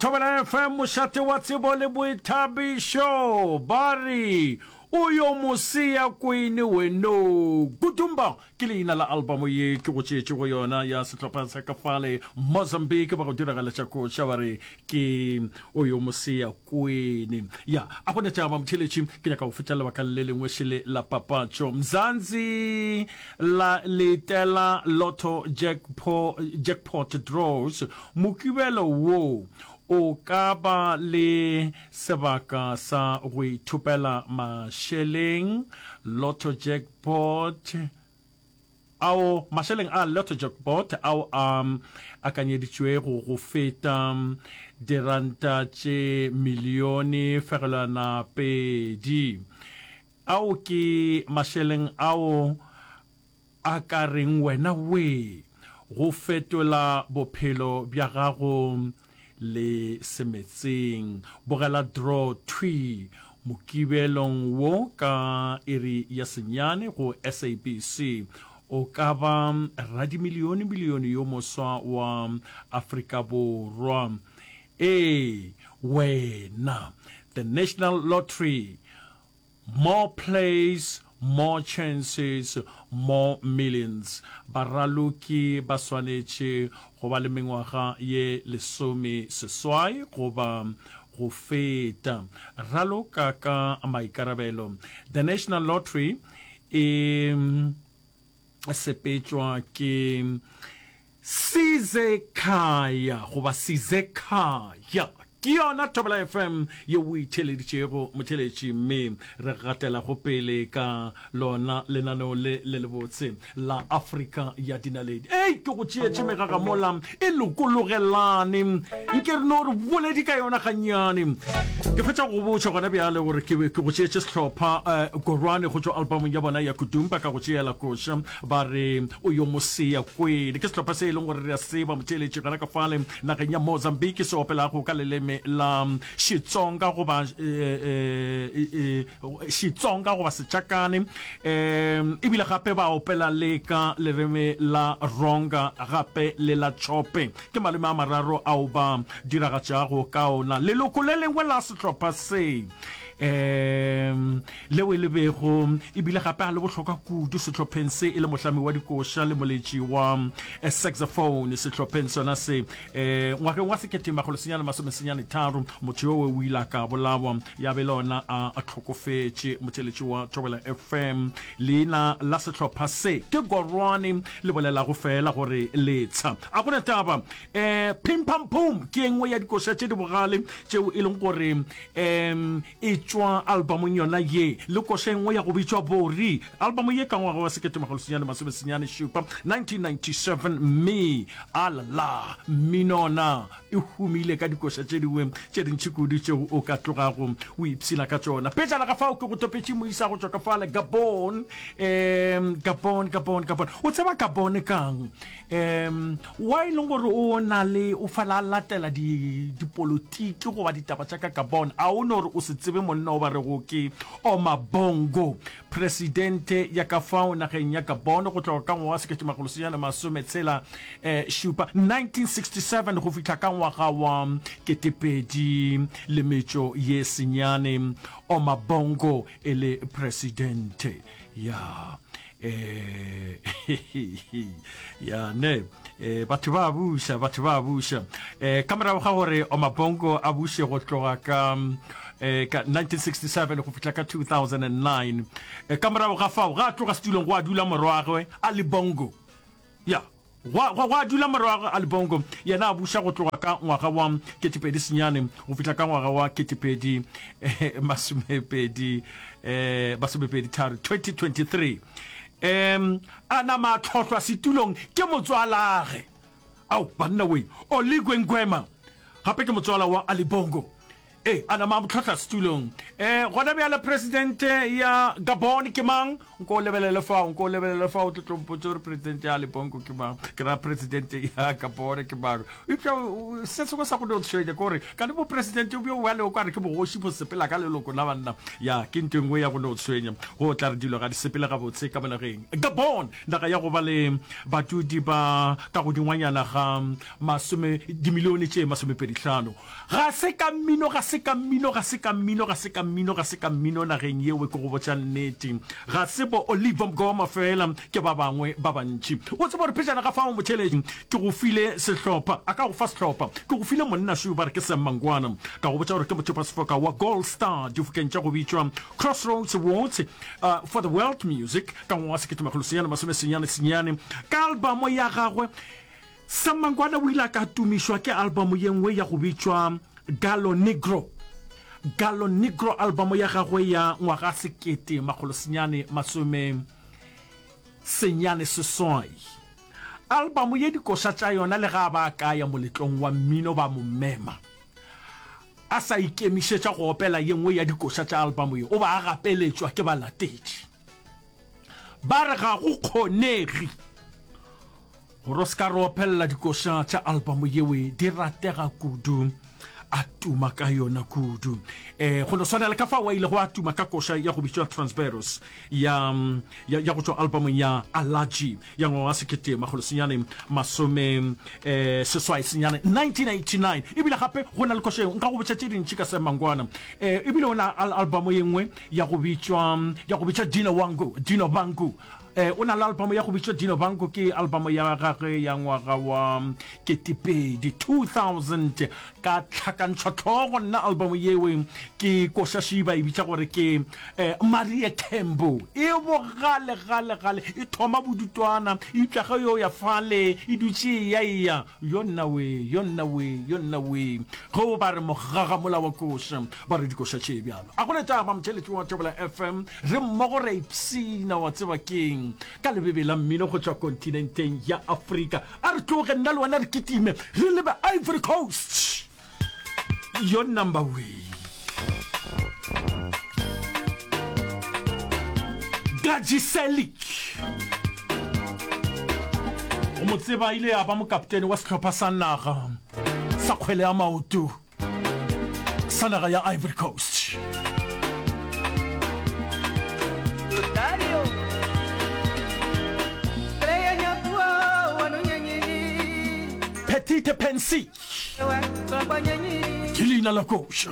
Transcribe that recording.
Thobela FM, mošate wa tsebo le boithabišo. Ba re o yo moseya kwene weno. Gudumba ke leina la albamo ye ke go tšeetšego yona ya sehlopha sa ka fale Mozambique ba go diragaletša koša ba re ke o yo moseya kwene. Ya, a go na tšaba motheletši, ke nyaka go fetša lebaka le lengwe šele la papatšo. Mzansi la letela Lotto Jackpo, Jackpot Draws Mokibelo wo o ka ba le sebaka sa go ithopela mašeleng Lotto Jackpot ao mašeleng a Lotto Jackpot ao a akanyeditšwego go feta diranta tše milione fegelwana pedi. Ao ke mašeleng ao a ka reng wena wee go fetola bophelo bja gago le semetseng. Bogela draw thwi Mokibelong wo ka iri ya senyane go SABC. O ka ba radimilione-milione yo moswa wa Afrika Borwa. Ee, wena. The National Lottery More plays, more chances, more millions. Baraloki ba swanetše go ba le mengwaga ye lesomeseswai goba go feta. Raloka ka maikarabelo. The National Lottery e sepetšwa ke Sizekhaya goba Sizekhaya. Ke yona Thobela FM ye o e theeleditšego motheeletši mme re gatelago pele ka lona lenaneo le le lebotse la Afrika ya Dinaledi. Ei, ke go tšeetše megagamola e lokologelane, nke re no re boledi ka yona gannyane. Ke fetša go go botša gona bjale gore ke ke go tšeetše sehlopha eh, Korwane go tšwa albumong ya bona ya Kudumba ka go tšeela koša Ba re o yo mosea kwele. Ke sehlopha se e leng gore re a tseba motheeletši gona ka fale nageng ya Mozambique se opelago ka leleme la Xitsonga goba Xitsonga goba Sechakane ebile gape ba opela le ka leleme la Ronga gape le la Chope. Ke maleme a mararo ao ba diragatšago ka ona. Leloko le lengwe la sehlopha se um leo e le bego e bile gape a le bohlokwa kudu sehlopheng se e le mohlami wa dikoša le moletši wa eh, saxophone sehlopheng sona se um ngwageng wa 1993 motho yowe o ile a ka bolawa ya be le ona a hlokofetše. Motheeletši wa Thobela FM, leina la sehlopha se ke Gorwane, le bolelago feela gore letsha. A gona taba. Um Pim Pam Poom ke e nngwe ya dikoša tše di bogale tšeo e leng gore um e tšwa albamong yona ye, le koša e nngwe ya go bitšwa Bori. Albamo ye ka ngwaga wa 1997, 1997, mme alala mmino ona e humile ka dikoša tše dingwe tše dintši kudu tšeo o ka tlogago o ipshina ka tšona. Pejana ga fao ke go topetše moisa go tšwa ka fale Gabon, um Gabon, Gabon, Gabon. O tseba Gabon kang? Um wa e leng gore o na le o fela a latela di dipolotiki goba ditaba tša ka Gabon, a o no re o se tsebe monna o ba rego ke Omar Bongo, presidente ya ka fao nageng ya Gabon go tloga ka ngwaga wa 1967, 1967, go fihla ka ngwaga wa 2009, Omar Bongo e le presidente ya eh ya ne eh batho ba buša batho ba buša eh ka morago ga gore Omabongo a buše go tloga ka eh ka 1967 go fihla ka 2009 eh, ka morago ga fao ga a tloga setulong go a dula morwagwe Ali Bongo ya Gwa, gwa, gwa dula morwagwe Ali Bongo, yena a buša go tloga ka ngwaga wa 2009 go fihla ka ngwaga wa 2020, eh, 23, 2023. Um, a nama a tlhohlwa setulong ke motswalage. Ao, banna we, Oligwe Nguema, gape ke motswala wa Ali Bongo. Ee, a nama a mo tlhohla setulong. E, gona bjale presidente ya Gabon ke mang? Nko o lebelele fao, nko o lebelele fao, o tlo tlo mpotša gore presidente ya Ali Bongo ke mang. Ke ra presidente ya Gabon ke mang. Eupša se sengwe sa go no tshwenya ke gore ka le bopresidente bjo bjale o ka re ke bogoši bo sepela ka leloko la banna. Ya, ke ntho e nngwe ya go no tshwenya. Go tla re dilo ga di sepele gabotse ka mo nageng. Gabon, naga ya go ba le badudi ba ka godingwanyana ga masome, dimilione tše masomepedihlano. Ga se ka mmino, ga se ka mmino, ga se ka mmino, ga se ka mmino, ga se ka mmino nageng yeo, ke go botša nnete. Ga se bo Oliver Mgoma feela, ke ba bangwe ba bantši. O tseba gore pejana ga fao motheeletši, ke go file sehlopha, a ka go fa sehlopha, ke go file monna šo ba re ke Sam Mangwana, ka go botša gore ke mothopasefoka wa Gold Star difokeng tša go bitšwa Crossroads Awards for the World Music ka ngwaga wa 1999 ka albamo ya gagwe Sam Mangwana o ile a ka tumišwa ke albamo ye nngwe ya go bitšwa Gallo Negro. Gallo Negro albamo ya gagwe ya ngwaga 1998. Albamo ye dikoša tša yona le ga ba ka ya moletlong wa mmino ba mo mema a sa ikemišetša go opela ye nngwe ya dikoša tša albamo ye o ba a gapeletšwa ke balatedi. Ba re ga go kgonege Gore o se ka re opelela dikoša tša album yewe di ratega kudu, a tuma ka yona kudu. Eh, go no swana le ka fao a ilego a tuma ka koša ya go bitšwa Transveros ya, ya, ya go tšwa albumong ya Allergy ya ngwaga wa sekete makgolo senyane masome eh, seswai senyane 1989. Ebile gape go na le koša yeo nka go botša tše dintši ka Sam Mangwana. Eh, ebile o na al album ye nngwe ya go bitšwa ya go bitšwa Dino Wangu, Dino Bangu. Eh, o na le album ya go bitšwa Dino Banco, ke album ya gagwe ya ngwaga wa ketepedi, 2000, ka tlhakantšhwa tlhogo nna album yewe ke koša šiba e bitša gore ke eh, Marie Kembo. E bogale gale gale, e thoma bodutwana, eupša ge yo ya fale e dutše e ya eya, yo nna we, yo nna we, yo nna we. Ge o ba re mogaga mola wa koša, ba re dikoša tše bjalo. A go ne taba motheeletši wa Thobela FM, re mmogo re a ipshina, wa tseba keng, ka lebebe la mmino go tšwa kontinenteng ya Afrika. A re tloge nna le wena re kitime re lebe Ivory Coast. Yo number we. Gaji Selic. O mo tseba ile ya ba mokaptene wa sehlopha sa naga sa kgwele ya maoto. sa naga ya Ivory Coast. Petite Pensée ke leina la koša.